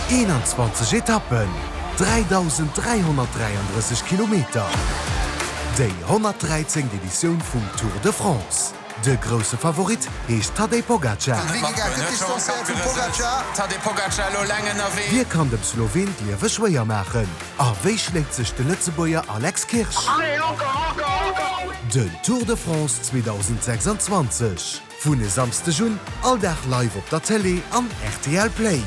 21 Etappen, 3.333 Kilometer, déi 113. Editioun vum Tour de France. De grousse Favorit heescht Tadej Pogacar. Wie kann dem Sloween d'Liewe schwéier maachen? A wéi schléit sech de Lëtzebuerger Alex Kirsch? Den Tour de France 2026 vun e Samsdeg un all Dag live op der Télé an rtl Play.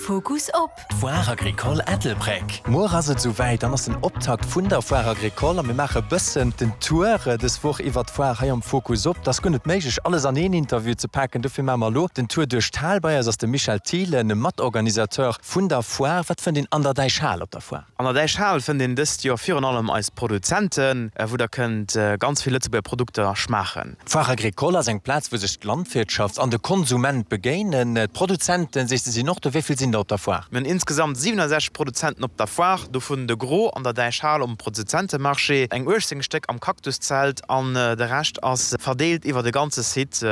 Fokus op. D'Foire Agricole Ettelbréck. Muer ass et esou wäit, dann ass den Optakt vun der Foire Agricole a mir maache bëssen den Tour dës Woch iwwert d'Foire hei am Fokus op. Et ass guer net méiglech alles an een Interview ze paken, dofir maache mer elo den Tour duerch d'Hal. Bei eis ass de Michel Thielen, Matorganisateur vun der Foire. Wat fënnt een an der Däichhal op der Foire? An der Däichhal fënnt een dëst Joer virun allem eis Produzenten, wou der kënnt ganz vill Lëtzebuerger Produkter schmaachen. D'Foire Agricole ass eng Plaz, wou sech d'Landwirtschaft an de Konsument begéinen. D'Produzenten, sees de, sinn och do. Wéi vill sinn der op der Foire? Mir hunn insgesamt 67 Produzenten op der Foire, dovun de Gros an der Däichhal um Produzentemarché, eng 18 Stéck am Cactuszelt an de Rescht ass verdeelt iwwer de ganze Site.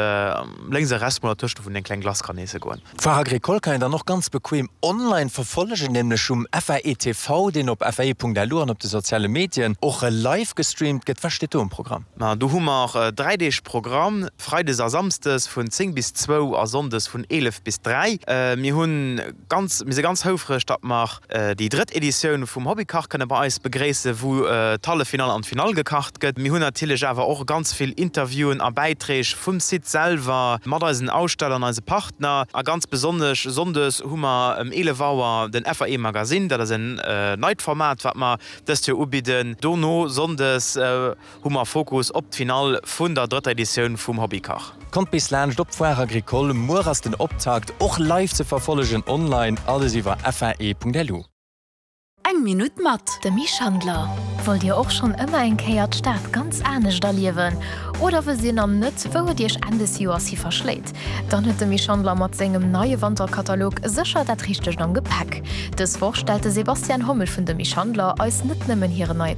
Lénks a rechts mol dertëscht, wou een eng kleng Glace kann iesse goen. D'Foire Agricole kann een dann och ganz bequem online verfollegen, nämlech um FAE TV, deen op fae.lu an op de soziale Medien och live gestreamt gëtt. Wat steet do um Programm? Ma do hu mer 3 Deeg Programm, Freides a Samsdes vun 10 bis zwou a Sonndes vun 11 bis 3. Mir hunn ganz, mir si ganz houfreg, datt mer déi drëtt Editioun vum Hobbykach kënne bei eis begréissen, wou d'Halleffinall an d'Finall gekacht gëtt. Mir hunn natierlech awer och ganz vill Interviewen a Bäiträg vum Site selwer mat eisen Aussteller an eise Partner. A ganz besonnesch sonndes hu mer ëm 11 Auer den FAE Magazine. Dat ass en neit Format, wat mer dëst Joer ubidden. Dono sonndes hu mer Fokus op d'Finall vun der drëtter Editioun vum Hobbykach. Kommt bis laanscht op d'Foire Agricole. Muer ass den Optakt, och live ze verfollegen online, alles iwwer fae.lu. Eng Minutt mat Demy Schandler. Wollt Dir och schonn ëmmer eng Kéier d'Stad ganz anescht erliewen? Oder wësst Dir nach net, wou et Iech Enn des Joers hi verschléit? Dann huet Demy Schandler mat sengem neie Wanterkatalog sécher dat Richtegt am Gepäck. Dës Woch stellt de Sebastian Hommel vun Demy Schandler eis net nëmmen hiren neie.